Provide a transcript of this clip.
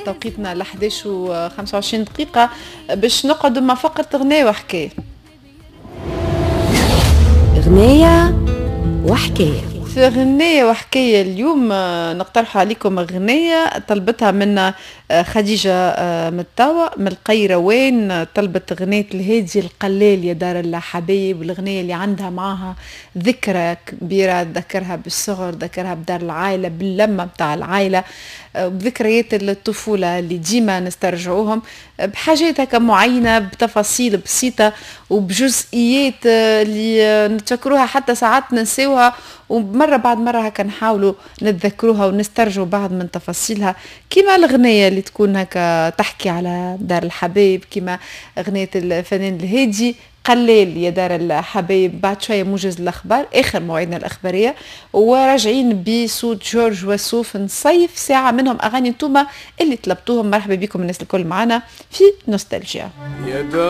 توقيتنا ل 11 و 25 دقيقة، باش نقعدوا مع فقرة غناية وحكاية. غناية وحكاية. في غناية وحكاية اليوم نقترح عليكم غناية طلبتها منا خديجة متاوى من القيروان، طلبت غناية الهادي القلال يا دار الحبايب، الغناية اللي عندها معاها ذكرى كبيرة، تذكرها بالصغر، ذكرها بدار العائلة، باللمة بتاع العائلة، بذكريات الطفولة اللي ديما نسترجعوهم بحاجات هكا معينة، بتفاصيل بسيطة وبجزئيات اللي نتفكروها حتى ساعات ننساوها، ومرة بعد مرة هكا نحاولوا نتذكروها ونسترجعوا بعض من تفاصيلها، كما الغنية اللي تكون هكا تحكي على دار الحبايب، كما غنية الفنان الهادي قلال يا دار الحبايب. بعد شوية موجز الأخبار، آخر موعدنا الأخبارية، وراجعين بصوت جورج وسوف نصيف ساعة منهم أغاني انتوما اللي طلبتوهم. مرحبا بكم الناس الكل معنا في نوستالجيا.